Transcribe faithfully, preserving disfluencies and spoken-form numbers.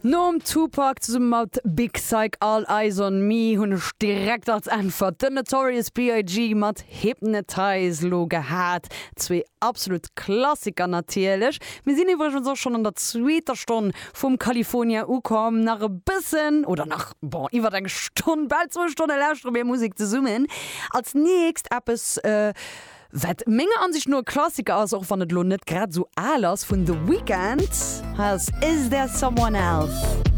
Nom Tupac zesumme mat Big Syke All Eyez on Me hunn ech direkt als Äntwert den Notorious B.I.G. mat Hypnotize lo gehat. Zwee absolut Klassiker natierlech. Mir sinn iwwregens och schonn an der zweeter Stonn vum California ukomm. Nach e bëssen, oder nach, bon, iwwer eng Stonn, bal zwou Stonne lauschtere mir Musek zesummen. Als nächst eppes, wat menger Ansicht no e Klassiker ass, och wann et lo net grad sou al ass, vun The Weeknd, hei ass Is There Someone Else?